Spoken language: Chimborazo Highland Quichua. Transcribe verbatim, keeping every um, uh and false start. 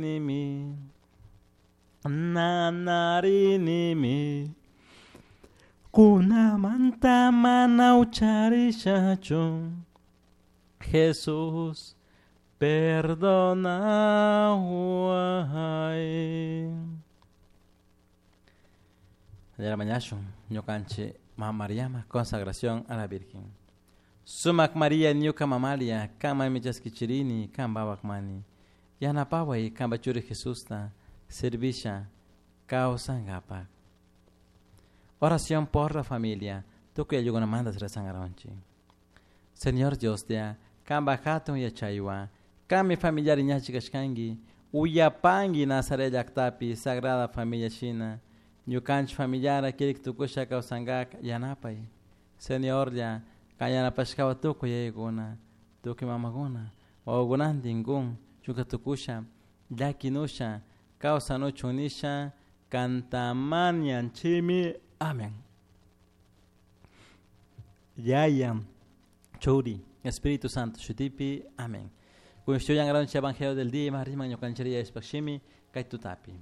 Nimi nanarinimi kunamanta mana ucharishachu Jesús perdonaway. De la mañana, ñukanchik Mama Mariama, consagración a la Virgen. Sumac María ñuka mamalia, kama michaskichirini, kambawakmani. Yanapaway kamba churi Jesusta, servisha, kawsankapak. Oración por la familia, tukuy ayllukunamanta rezangaronchik. Señor Dios ya, kamba hatun yachaywan, kami familiar iñachi kashkanki, uyapanki Nazaret llaktapi, Sagrada Familia shina, ñukanchik familiara kirik tukusha kawsankak yanapay. Señor ya, kan yanapashkawa tukuy yayakuna, tukuy mamakuna, wawakunantin kun, chunka tukusha, llakinusha, kawsanuchun nisha, kantamañanchimi. Amén. Yaya, Churi, Espíritu Santo, shutipi. Amén. Kun Evangelio del día, Marisma, ñukanchiria ispakshimi, kay tutapi.